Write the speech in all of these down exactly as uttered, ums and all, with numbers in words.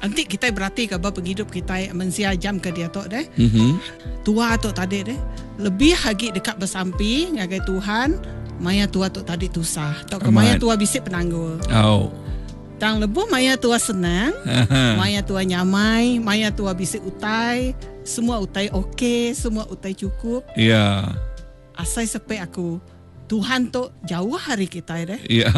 Enti kitai beratika ba pengidup kitai mensia jam ke diatu deh. Mm-hmm. Tua tu tadi deh lebih agi deka besampi ngagai Tuhan maya tua tu tadi tusah tauka maya tua bisi penanggul. Oh. Tang lebuh maya tua senang, maya tua nyamai, maya tua bisi utai, semua utai okey, semua utai chukup. Ya. Asai sepi aku Tuhan tu jauh ari kitai deh. Ya.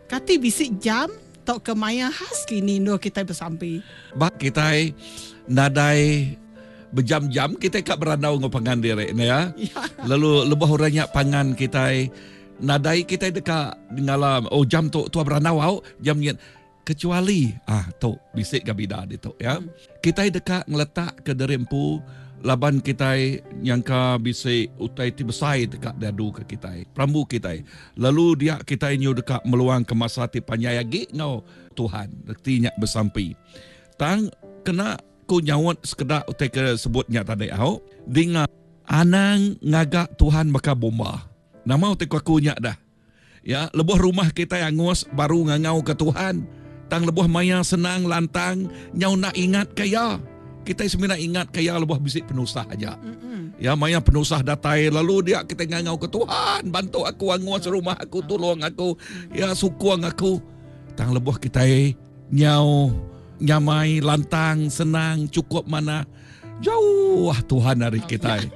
Kati bisi jam tauka maya khas kini endur kitai besampi? Ba kitai nadai bejam-jam kitai ka berandau enggau pangan diri ne ya. Lalu lebuh orang nya pangan kitai nadai kitai deka ngala oh jam tu tua berandau au jam nyin kecuali ah tu bisi ga bida ditu ya. Kitai deka ngeletak ke diri empu laban kitai nyangka bisi utai ti besai deka diadu ke kitai perambu kitai lalu dia kitai nyu deka meluang ke masa ti panjai agi enggau Tuhan reti nya besampi. Tang kena ku nyaut sekeda utai ke sebut nya tadi au dinga anang ngaga Tuhan baka bomba. Nama utai ku aku nya dah. Ya lebuh rumah kitai angus baru ngangau ke Tuhan. Tang lebuh maya senang lantang nyau enda ingat ke iya. Kitai semina ingat ke iya lebuh bisi penusah aja. Ya maya penusah datai lalu dia kitai ngangau ke Tuhan bantu aku angus rumah aku tolong aku ya sukung aku. Tang lebuh kitai nyau nyamai lantang senang cukup manah jauh Tuhan ari kitai.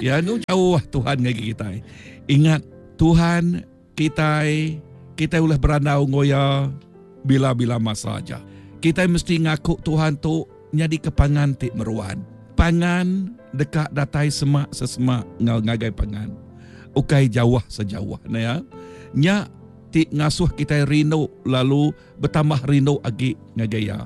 Ya nu jauh Tuhan ngagai kitai. Ingat Tuhan kitai kitai ulih berandau enggau iya bila-bila masa aja. Kitai mesti ngaku Tuhan tu nyadi ke pangan ti meruan. Pangan deka datai semak sesemak enggau ngagai pangan. Ukai jauh sejauh ne ya. Nya ti ngasuh kitai rindu lalu betambah rindu agi ngagai iya.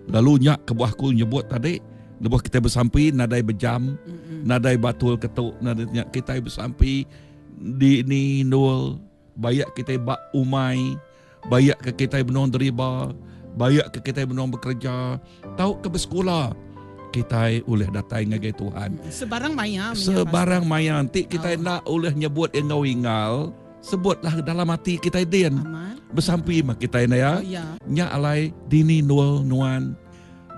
Lalu nya kebuah aku nyebut tadi lebuh kitai besampi nadai bejam, mm-hmm. nadai batul ketu, nadai nya kitai besampi di ni nul bayak kitai ba umai, bayak ke kitai benung deriba, bayak ke kitai benung bekerja, tau ke bersekula kitai ulih datai ngagai Tuhan. Sebarang maya. Sebarang maya enti kitai oh. enda ulih nyebut enggau ingal, sebutlah dalam hati kitai din. Amat. Besampi mah kitai na ya. Oh, ya. Nya alai dini nul nuan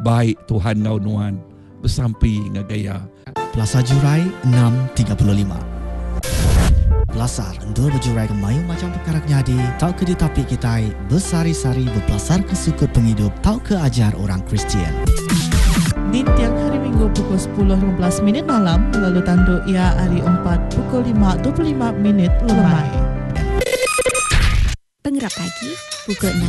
baik Tuhan ngau nuan besampi ngagai iya. Pelasar Jurai enam tiga puluh lima. Pelasar endur bejurai ke mayuh macham pekara ke nyadi tauka ditapi kitai besehari-sehari bepelasarka sukut pengidup tauka ajar orang Kristian. Ninting Hari Minggu pukul sepuluh lima belas minit malam lalu tandu iya hari Empat pukul lima dua puluh lima minit lemai. Pengerap pagi pukul enam.